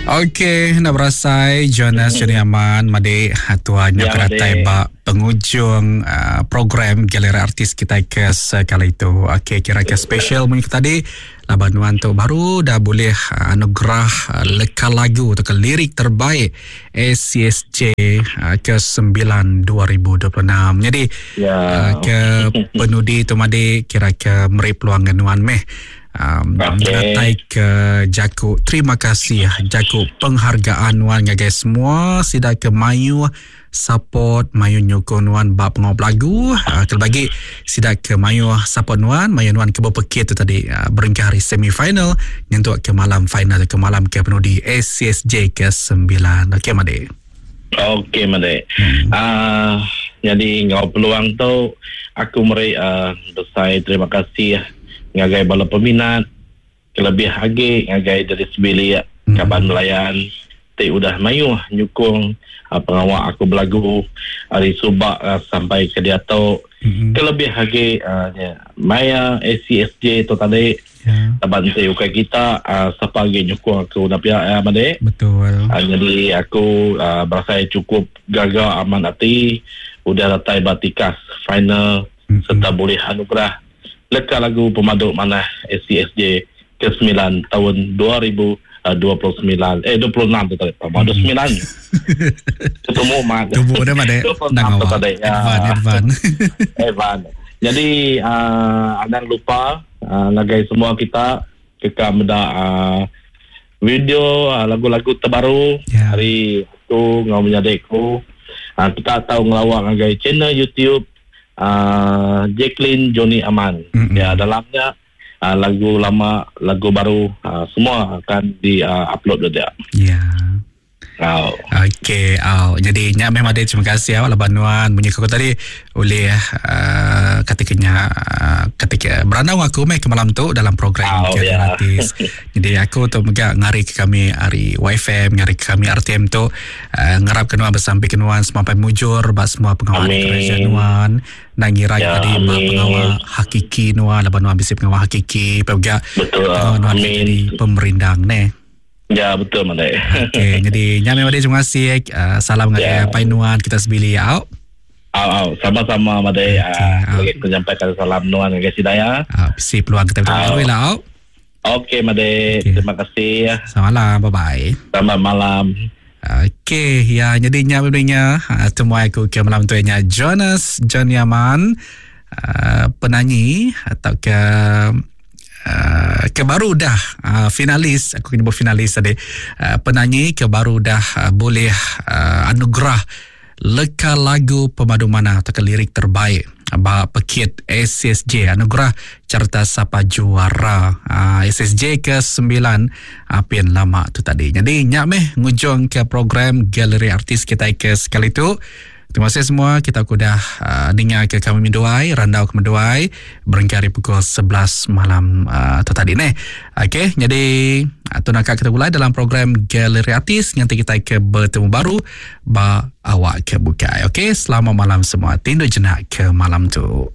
Okey, enda berasai Jonas Johnny Aman madi tuan nya ya, datai ba pengujung uh, program Galeri Artis kita ke sekali itu. Okey, kira ke special munyi tadi laban nuan tu baru dah boleh uh, anugerah uh, leka lagu atau ke lirik terbaik ACSJ uh, ke 9 2026. Jadi ya. uh, ke penudi tu madi kira ke meri peluang nuan meh um, okay. Datai ke jaku terima kasih jaku penghargaan nuan ngagai semua sida ke mayuh support mayuh nyukung nuan ba pengawa belagu uh, kelebih agi sida ke mayuh support nuan mayuh nuan ke bepekit tu tadi uh, berengkah hari semi final nyentuk ke malam final ke malam ke penudi ACSJ ke 9 okey madi Okey madi. Hmm. Uh, jadi ngau peluang tu aku meri uh, besai terima kasih ngagai bala peminat kelebih agi ngagai diri sebilik hmm. kaban belayan ti udah mayuh nyukung uh, pengawa aku belagu ari suba uh, sampai ke diatu hmm. kelebih agi uh, maya ACSJ tu tadi yeah. laban ti ukai kita uh, sapa agi nyukung aku dah pia ya madi betul uh, jadi aku uh, berasai cukup gaga amat ati udah datai ba tikas final mm-hmm. serta boleh anugerah Leka lagu pemadu manah ACSJ ke semilan taun 2029 eh 26 tu tadi pemadu hmm. semilan ketemu mat tubuh dia mat 26 tu tadi ya. Advan Advan Advan jadi uh, anang lupa uh, ngagai semua kita keka meda uh, video uh, lagu-lagu terbaru yeah. hari aku ngau menyadi aku uh, kita tahu ngelawak ngagai channel YouTube uh, Jacqueline Johnny Aman. Mm-hmm. Ya dalamnya uh, lagu lama, lagu baru uh, semua akan di uh, upload dia. Ya. Yeah. Oh. Okey, oh. Jadi nya memang ada terima kasih awak laban nuan munyi aku tadi oleh uh, ketikanya uh, ketika berandau aku meh ke malam tu dalam program oh, yeah. gratis. Jadi aku tu mega ngari ke kami ari YFM, ngari ke kami RTM tu Uh, ngarap ke nuan besampi ke nuan semampai mujur ba semua pengawa kereja nuan nang ngira ya, tadi ba pengawa hakiki nuan laban nuan bisi pengawa hakiki pe mega betul nuan jadi pemerindang ne ya betul mane okey jadi nya memang terima kasih uh, salam ngagai ya. apai nuan kita sebili au Au, au. Sama-sama madai. Okay, uh, aku menyampaikan salam nuan ngagai Sidaya. Uh, bisi peluang kita bertemu lah. Au. Okey, Made. Okay. Terima kasih. Selamat malam. Bye-bye. Selamat malam. Okey, ya jadi nya berinya ah, temuai aku ke malam tu nya Jonas John Yaman uh, penyanyi atau ke uh, ke baru dah uh, finalis aku kena finalis tadi uh, penyanyi ke baru dah uh, boleh uh, anugerah Leka lagu pemadu manah tauka lirik terbaik ba pekit SSJ Anugerah Carta Sapa Juara SSJ ke sembilan apin lama tu tadi. Nyadi nya meh ngujung ke program Galeri Artis kitai ke sekali tu. Terima kasih semua kita ke udah uh, ninga ke kami menduai, randau ke menduai berengkah ari pukul 11 malam uh, tu tadi neh. Okey, jadi tu naka kita gulai dalam program Galeri Artis nganti kita ke bertemu baru ba awak ke bukai. Okey, selamat malam semua. Tindu jenak ke malam tu.